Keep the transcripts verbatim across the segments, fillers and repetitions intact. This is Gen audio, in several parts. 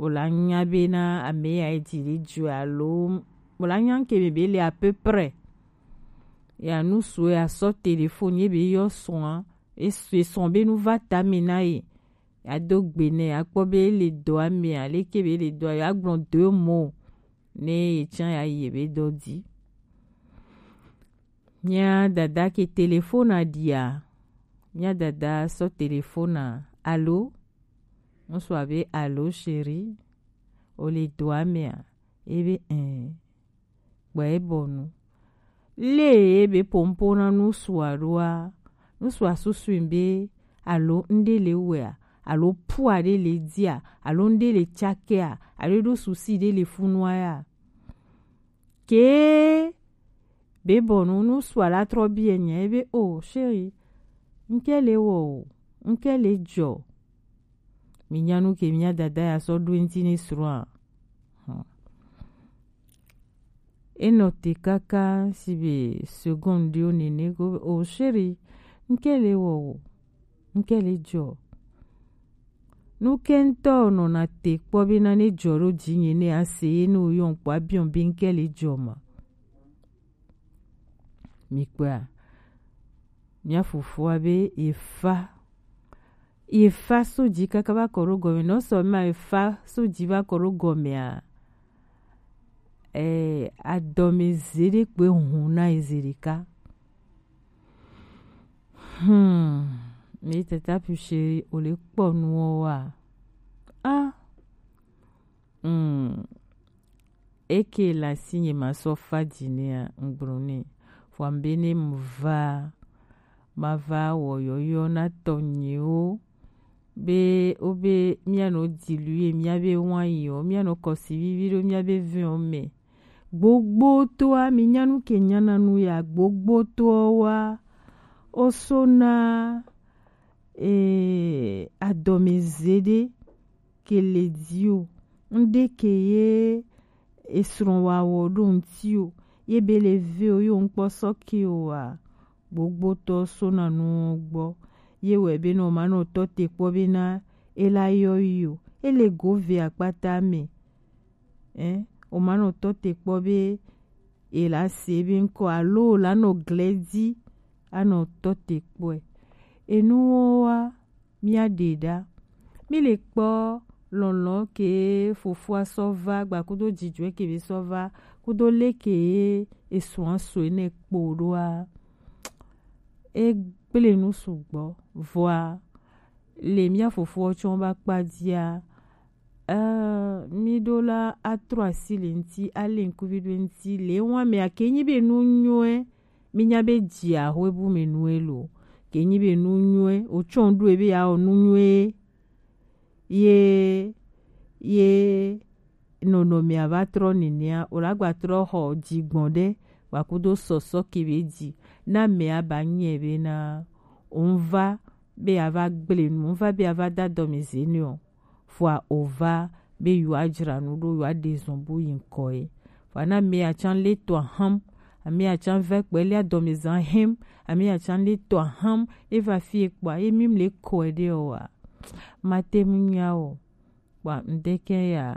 o la nya be na ame ya e ji ɖe jɔ alo o la nya ke be be le à peu près. Ya nu su ya sɔ téléphone ye be yɔ sɔn a, e sɔn be nu va ta me na ye. Ya do gbe nɛ, ya kpɔ be e le dɔ a me a, leke be e le dɔ a, ya gblɔ deux mots ne ye tsã ya yi ye be dɔ di. Mía dada ke téléphone a ɖia, mía dada sɔ téléphone a, alo, ŋutsu a be, alo chéri, o le dɔ a me a? E be, ɛɛ, kpɔ e bɔ nu. Le e be pompo na ŋutsu a ɖoa, ŋutsu a susu be, alo ŋɖe le wɛ a, alo pua ɖe le di a, alo ŋɖe le tsake a, alo ɖo susi ɖe le funu a ya. Ke be bɔ nu, ŋutsu a la trɔ biɛ nya e be, o chéri, ŋke le wɔ o, ŋke le jɔ. Mi nya nu ke mía dada ya sɔ ɖo eŋti ne srɔ̃ a? Hmm. E nɔ te kaka si be seconde ɖewo nene go, o chéri, ŋke le wɔ o, ŋke le jɔ. Nu ke ŋutɔ nɔna te kpɔ be na ne jɔ ɖo dzinye ne a se ye ne o yɔn kpɔ a biɔn be ŋke le jɔ ma. Mi kpɔa, mía fofoa be ye fa, ye fa so dzi kaka va kɔ ɖo gɔme. Nɔ sɔ ma ye fa so dzi va kɔ ɖo gɔme a, eh, adɔme ze ɖe kpe hun na ye ze ɖeka. Hmm, mi tata pu chéri, o le kpɔ nuwo wa? Ah, hmm, eke la si nye ma sɔ fa dzi nea, ŋgblɔ nɛ. Vɔa mbe ne mu va, ma va wɔ yɔyɔ na tɔnyewo, be, wo be, mía nɔ dilu ye, mía be wanyi o, mía nɔ kɔsi vivi ɖo mía be vɛn o me. Gbogbo toa, mi nya nu ke nyana nu ya, gbogbo toa wa, o so na, eh, adɔme ze ɖe ke le di o. Ŋɖe ke ye esrɔ̃ wa wɔ ɖo ŋti o. Ye be le ve o, yo ŋkpɔ sɔ ke o wa. Gbogbotɔ so na nu gbɔ. Ye wɛ be nɔ ma nɔ tɔ te kpɔ be na e la yɔ yi o. E le go ve akpata me. Ɛ, o ma nɔ tɔ te kpɔ be e la se be ŋkɔ alo o la nɔ glɛ di a nɔ tɔ te kpɔɛ. Enuwo wa mía ɖe ɖa. Mi le kpɔ lɔlɔ ke fofoa sɔ va gba kudo jijɔɛ ke be sɔ va kudo le ke esua so ene kpo ɖoa. E gble nu sugbɔ vɔa le mía fofoa tsɔ ba kpa dia. Eh, mi ɖo la atrɔ asi le ŋti, ale ŋkuvi ɖo ŋti, le wa me ake nyi be nu nyɔɛ, mi nya be dzi ahwe bu me nu elo. Ke nyi be nu nyɔɛ, o tsɔ ɖo ebe ya o nu nyɔɛ. Ye, ye nɔnɔme a va trɔ nenea, o la gba trɔ xɔ dzigbɔn ɖe, gba kudo sɔsɔ ke be dzi. Na me a ba nyɛ be na, o va be a va gble nu, o va be a va da dɔme ze ne o. Vɔa o va be yewoa dzra nu ɖo, yewoa ɖe zɔn bu yi ŋkɔ ye. Vɔa na ame ya tsã le to aham, ame ya tsã va kpɛ le adɔmezan hem, ame ya tsã le to aham, e va fi e kpɔa, ye mi le kɔe ɖe o wa. Ma te mu nya o. Kpɔa ŋdeke ya,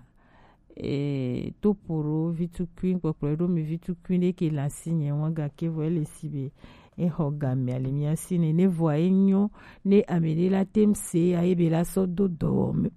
eh, to poro vitukui, kpɔkplɔ ɖo mi vitukui ɖe ke la si nye wa gake vɔ ele si be e xɔ game ali mia si ne, ne vɔa e nyɔ, ne ame ɖe la tem se ya ye be la sɔ do dɔwɔme.